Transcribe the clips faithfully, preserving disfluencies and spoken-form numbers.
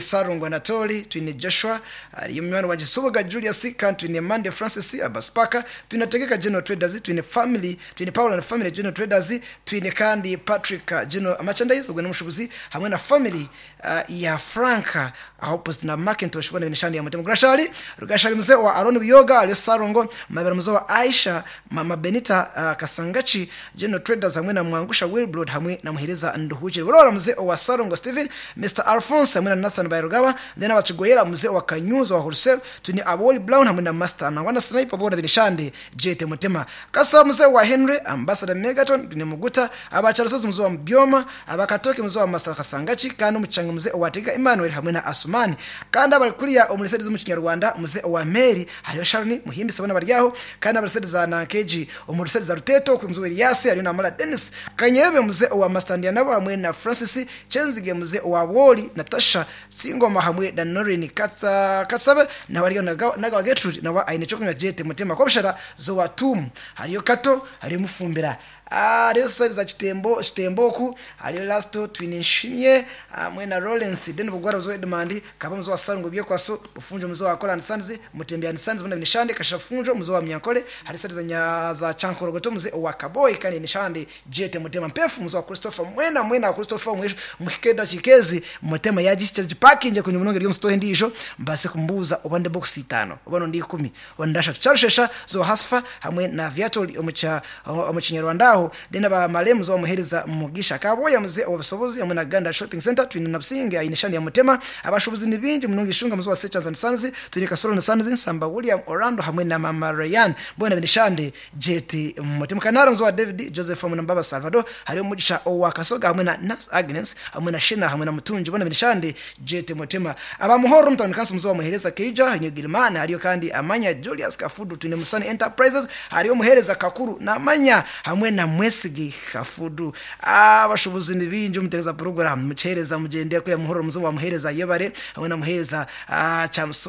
Sarungu Anatoli, twine Joshua, hariyo munywani wanje Subuga Julius, kandi twine Mande Francis Abaspaka, twine Tegeka General Traders, twine family, twine Paul and family General Traders, twine kandi Patrick uh, General Merchandise ubwo n'umushubuzi hamwe na family uh, ya Franka aho opposite na Macintosh bona binishani ya Mutema Grashali, Rugashali mzee wa Aaron Biyoga, aliyo Sarungo, Mabera mzee wa Aisha, Mama Benita uh, Kasangachi General Traders hamwe na Mwangusha Wilbrod hamwe na Muhereza Nduhuje. Burora mzee wa Sarungo Steven, Mr Alphonse hamwe na Nathan Bairugaba, then abachigoyera mzee wa Kanyuzo wa Wholesale, tuni Aboli Brown hamwe na Master na wana Sniper bona binishande Jete Mutema. Kasa mzee wa Henry, Ambassador Megaton, tuni Muguta, abacharasozi mzee wa Mbyoma, abakatoke mzee wa Master Kasangachi, kandi umuchanga mzee wa Tega Emmanuel hamwe na Asumani. Kandi abarikuriya umulisedi mu Kinyarwanda mzee wa Mary, hariyo Sharon Muhimbi sabona baryaho, kandi abarisedi za Nankeji, umulisedi za Ruteto ku mzee wa Elias, hariyo na Mara Dennis, Kanyebe mzee wa Master Ndianabo hamwe na Francis Chenzige mzee wa Woli, Natasha Singoma hamwe na Norin Katsa Katsabe na wariyo nagawa Gertrude na wa aine chokunywa Jete Mutema kobshara zo watum hariyo Kato hariyo Mufumbira hariyo side za Chitembo Chitemboku hariyo Lasto twinishimye hamwe na Lawrence Den Bugwara zo Edmandi kaba mzo wa Sarungu byo kwaso bufunjo mzo wa Kolan Sands Mutembea Sands mbona binishande kashafunjo mzo wa Mnyankole hari side za nya za Chankorogoto mze wa Kaboy kandi nishande Jete Mutema mpefu mzo wa Christopher Mwena Mwena wa Christopher mwisho mukikenda chikezi Mutema yagiche jipakinje kunye munonge ryo mstohe ndisho mbase kumbuza obande box itano obano ndi ikumi ondasha tucharushesha zo hasfa hamwe na viatoli omucha omuchinyarwanda aho dena ba malemu zo muhereza mugisha kaboya muze obusobozi hamwe na Ganda Shopping Center twine na Businge ayinishani ya Mutema abashubuzi nibingi munonge ishunga muzo wa Sechas and Sons twine Kasoro na Sons Nsamba William Orlando hamwe na Mama Ryan bona binishande Jeti Mutema Kanaro muzo wa David Joseph hamwe na Baba Salvador hariyo mugisha owa Kasoga hamwe na Nas Agnes hamwe na Shina hamwe na Mutunji bona binishande Jete Mutema abamuhoro mtano kansu muzo wa muhereza Keija Nyegilimana hariyo kandi Amanya Julius Kafudu twine Musani Enterprises hariyo muhereza Kakuru na Amanya hamwe na Mwesigi Kafudu abashubuzi nibingi umutegeza program mucereza mugende kuri muhoro muzo wa muhereza yebare hamwe na muhereza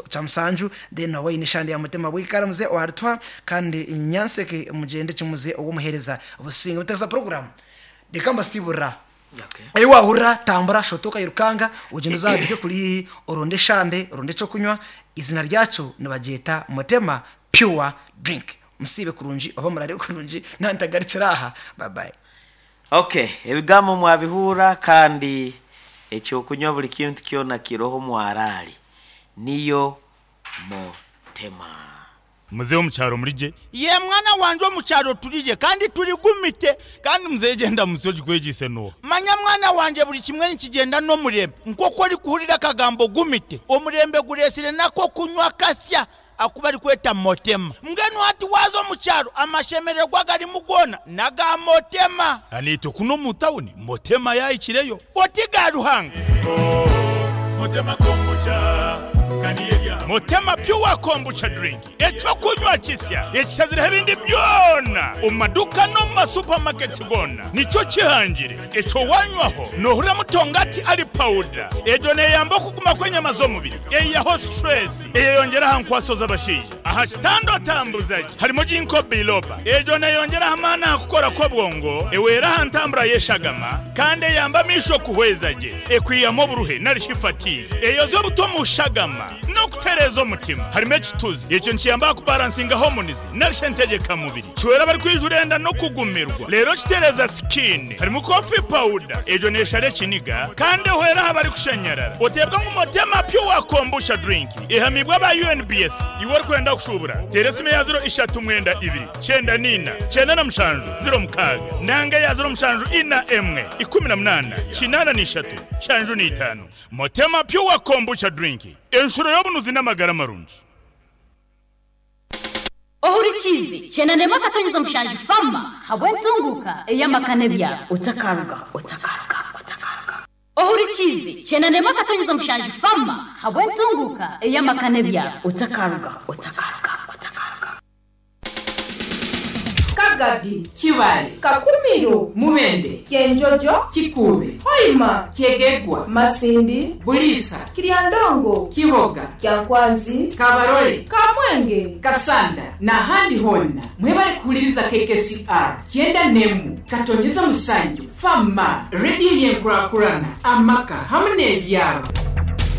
chamsanju then nawe inishandi ya Mutema bwikara muze wa Artwa kandi nyanseke mugende kimuze uwo muhereza ubusinga umutegeza program dekamba sibura Okay. ayo wahura tambura shotoka yirukanga ugenda uzabike kuri oronde shande oronde cyo kunywa izina ryacu nibageta Mutema pure drink musibe kurungi oba murare kurungi nantagarikira aha bye bye Okay, ebigambo mwabihura kandi ekyokunywa buli kintu kyona kiroho mwarali niyo Mutema. Muzehe omukyaro murije ye mwana wanje omukyaro turije kandi turigumite kandi muzehe genda musi ogikwegise nuwo manya mwana wanje buli kimwe nikigenda n'omurembe nk'oku orikuhurira akagambo gumite omurembe guresire nako kunywa kasya akuba arikweta Motema mbwenu hati waza omukyaro amashemererwa garimu gona naga Motema anite kuno mu tawuni Motema yayikireyo oti ga Ruhanga Motema kombucha Motema pure kombucha drink ekyokunywa kisya ekishazireho ebindi byona omu maduka no mu masupamaketi gona nikyo kihangire ekyo wanywaho nohurira mutongati ari pawuda egyo neyamba okuguma kw'enyama z'omubiri eyaho stress eyeyongera aha nkwaso z'abashaija aha kitanda otambuzagi harimo ginkgo biloba egyo neyongera amaani aha kukora kw'obwongo ewera aha ntambura y'eshagama kandi eyamba amisho kuhweza gye ekwiyamu oburuhe narishi fatigue eyoza obuto mu shagama no kutereza omutima harimo ekituzi ekyo nkiyamba kubalansinga hormones narishe ntegeka mubiri kiwera bari kwijurenda no kugumirwa rero kitereza skin harimo coffee powder ejo neshare kiniga kandi ehwera aha bari kushanyarara otebwa ngu Motema pure kombucha drink ihamibwa ba U N B S iwe ori kwenda kushubura tera esimu ya ziro ishatu mwenda ibiri cyenda nina cyenda na mushanju ziro mukaga nanga ya ziro mushanju ina emwe ikumi na munana kinana n'ishatu shanju n'itanu. Motema pure kombucha drink enshuro y'obunuzi n'amagara marungi. Ohurikizi chenanema katonyeza mushanju fama habwentunguka eyamakane bya utakaruga utakaruga utakaruga ohurikizi chenanema katonyeza mushanju fama habwentunguka eyamakane bya utakaruga utakaruga utakaruga. Kagadi, Kibale, Kakumiro, Mubende, Kyenjojo, Kikuube, Hoima, Kyegegwa, Masindi, Bulisa, Kiryandongo, Kiboga, Kyankwanzi, Kabarole, Kamwenge, Kasanda n'ahandi honna mwebale kuwuliriza K K C R kyenda nemu katonyeza musanju fama rediyo y'enkurakurana amaka hamwe n'ebyaro.